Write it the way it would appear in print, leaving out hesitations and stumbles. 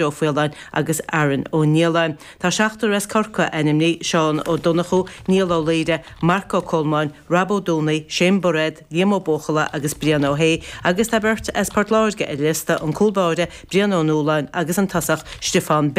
Ó Faoláin agus Aaron Ó Nialláin. Tá seachtar as Corcaigh ainmnithe, Seán Ó Donnchú, Niall Ó Laoire, Marc Ó Colmáin, Rob Ó Dúnaigh, Shane Bairéad, Liam Ó Buachalla agus Brian Ó hAodha agus tá beirt as Port Láirge ar an liosta, an cúl báire Brian Ó Nualláin agus an tosach Stiofán.